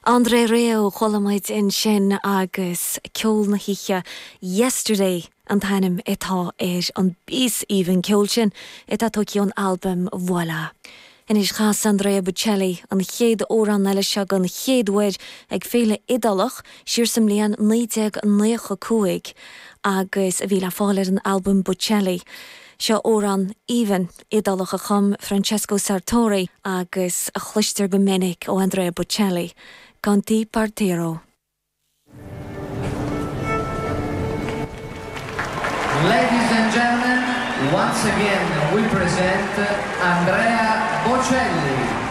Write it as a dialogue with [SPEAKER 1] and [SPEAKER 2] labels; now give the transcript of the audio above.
[SPEAKER 1] André Rieu, chuala muid ansin agus ceol na hoíche Yesterday an t-ainm atá ar an bpíosa aoibhinn ceoil sin atá tógtha ón albam Voilà. Anois chas Andrea Bocelli an chéad amhrán eile seo den chéad uair ag féile Iodálach siar sa mbliain 1995 agus a bhí le fáil ar an albam Bocelli. Seo amhrán aoibhinn Iodálach a chum Francesco Sartori agus a chloistear go minic ó Andrea Bocelli, Con te partirò.
[SPEAKER 2] Ladies and gentlemen, once again we present Andrea Bocelli.